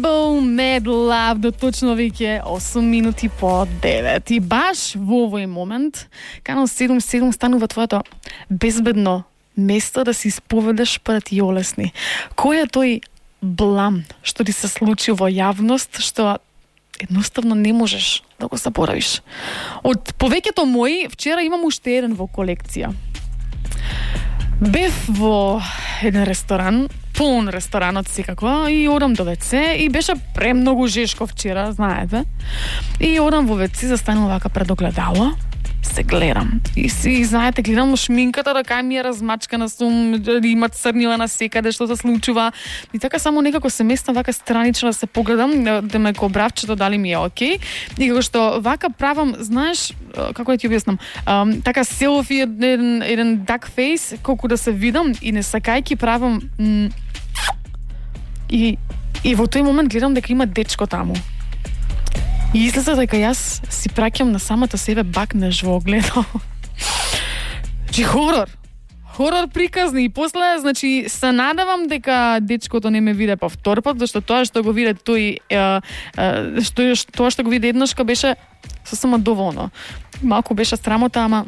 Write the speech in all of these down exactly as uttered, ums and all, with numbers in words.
Mad Love до точно веќе осум минути по девет. И баш во овој момент Канал седум седум станува твоето безбедно место да се исповедаш пред јолесни. Кој е тој блам што ти се случи во јавност, што едноставно не можеш да го заборавиш? Од повеќето мои, вчера имам уште еден во колекција. Бев во еден ресторан, полн ресторанот секако, и одам до веце и беше премногу жешко вчера, знаете. И одам во веце, застанувам вака пред огледало, се гледам. И си, знаете, гледам шминката, рака ми е размачкана, сум, има црнила на секаде, што се случува. И така само некако се местам вака странично да се погледам, да ме ко бравчето дали ми е окей. И како што вака правам, знаеш, како да ти објаснам, um, така селфи, еден, еден duck face, колку да се видам и не сакајки правам м- и, и во тој момент гледам дека има дечко таму. И излеза дека јас си праќам на самата себе бакнеш во огледало. Чи хорор. Хорор приказни. И после, значи, се надевам дека дечкото не ме виде повтор пат, зашто тоа што го виде тој, е, е, што, тоа што го виде еднашка беше сосема доволно. Малку беше срамота, ама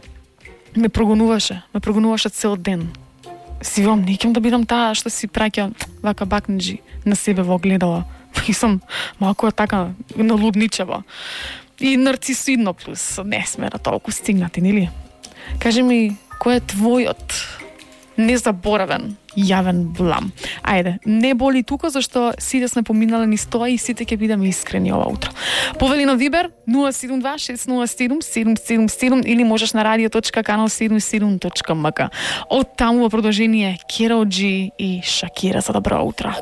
ме прогонуваше. Ме прогонуваше цел ден. Си вам, не ќе да бидам таа што си праќа вака бакнежи на себе во огледало. И сум малку така налудничева. И нарцисидно плюс. Не сме на толку стигнати, нели? Кажи ми, кој е твојот незаборавен јавен блам? Ајде, не боли тука, зашто сите сме поминале низ тоа и сите ќе бидеме искрени ова утро. Повели на Вибер нула седум два шест нула седум седум седум седум или можеш на радио точка канал седум седум точка ем ка. Од таму во продолжение Керол Џи и Шакира за добро утро.